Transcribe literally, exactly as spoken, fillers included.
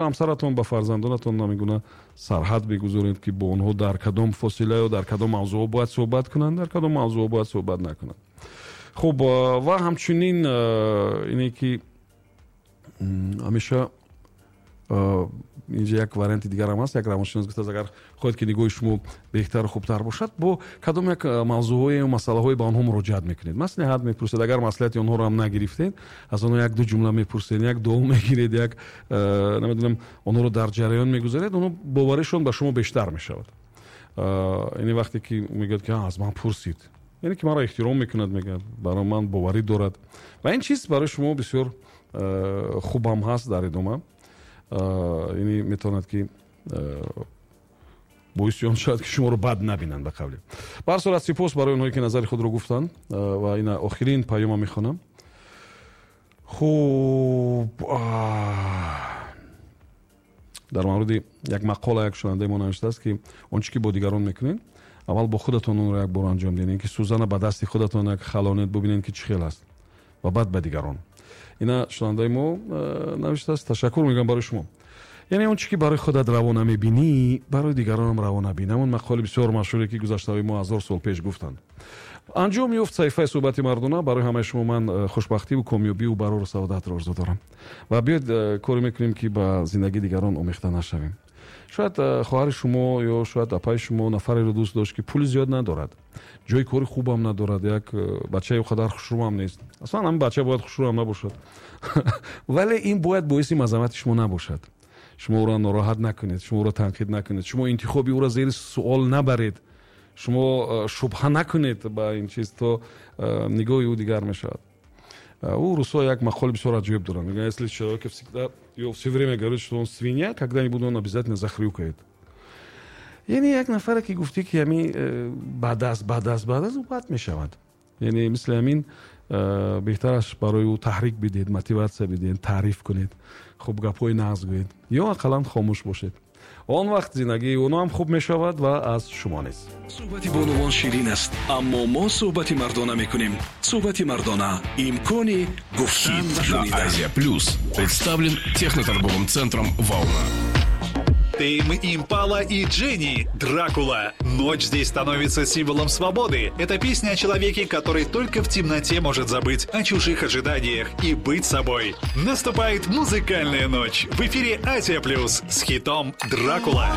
Ҳамсаратон, ба фарзандонатон намегуна сарҳад бигузоред, ки бо онҳо дар кадом фосила ё дар кадом мавзӯъ бояд суҳбат кунанд, дар кадом мавзӯъ бояд суҳбат накунанд. Хуб, ва ҳамчунин ине ки ҳамеша инҷа як варианти дигарам ҳаст. Як равоншинос гуфтааст, агар хоҳед, ки нигоҳи шумо беҳтару хубтар бошад, бо кадом як мавзӯъҳое, масъалаҳое ба онҳо муроҷиат мекунед, маслиҳат мепурсед. Агар маслиҳати онҳоро ҳам нагирифтед, аз онҳо як ду ҷумла мепурсед, як дуо мегиред, як намедонам, онҳоро дар ҷараён мегузоред, онҳо боваришон ба шумо бештар мешавад. Яъне вақте ки мегӯяд, ки аз ман пурсид, яъне ки маро эҳтиром мекунад, мегӯяд, барои ман боварӣ дорад, ва ин чиз барои шумо бисёр хубам ҳаст дар идома. Яъне метавонад, ки боиси он шавад, ки шуморо бад набинанд. Ба қавле, ба ҳар сурат, сипос барои онҳое, ки назари худро гуфтанд, ва ина охирин паёма мехонам. Хуб, дар мавриди як мақола як шунавандаи мо навиштааст, ки он чӣ ки бо дигарон мекунед, аввал бо худатон онро як бор анҷом диҳед, ки сӯзана ба дасти худатон як халонед, бубинед, ки чӣ хел аст, ва баъд ба дигарон. Ина шунавандаи мо навиштааст, ташаккур мегӯям барои шумо. Яъне он чӣ ки барои худат раво намебинӣ, барои дигаронам раво набин. Ҳамон мақоли бисёр машҳуре, ки гузаштаҳои мо ҳазор сол пеш гуфтанд. Анҷом ёфт саҳифаи суҳбати мардона. Барои ҳамаи шумо ман хушбахтиву комёбиву барору саодатро орзу дорам, ва биёед, коре мекунем, ки ба зиндагии дигарон омехта нашавем. Шояд хоҳари шумо ё шояд апаи шумо нафареро дӯст дошт, ки пули зиёд надорад, ҷои кори хубам надорад, як бачаи қадар хушрӯам нест. Аслан ҳамин бача бояд хушрӯам набошад, вале ин бояд боиси мазаммати шумо набошад. Шумо ӯро нороҳат накунед, шумо ӯро танқид накунед, шумо интихоби ӯро зери суол набаред, шумо шубҳа накунед ба ин чиз, то нигоҳи ӯ дигар мешавад. У русо як мақоли бисёр аҷоиб доранд, мегӯянд: «Если человек всегда и все время говорит, что он свинья, когда-нибудь он обязательно захрюкает». Яъне як нафаре, ки гуфтӣ, ки ҳами э, бад аст, бад аст, бад аст, ӯ бад мешавад. Яъне мисли ҳамин э, беҳтараш барои ӯ таҳрик бидиҳед, мотиватсия бидиҳед, таъриф кунед, хуб, гапҳои нағз гӯед ё ақаллан хомӯш бошед. Он вақт зиндагии оно ҳам хуб мешавад ва аз шумо низ. Суҳбати бонувон ширин аст, аммо мо суҳбати мардона мекунем. Суҳбати мардона — имкони гуфтан ва шунидан. Азия Плюс представлен техноторговым центром «Волна». Тейм Импала и Дженни. «Дракула». Ночь здесь становится символом свободы. Это песня о человеке, который только в темноте может забыть о чужих ожиданиях и быть собой. Наступает музыкальная ночь. В эфире Азия Плюс с хитом «Дракула».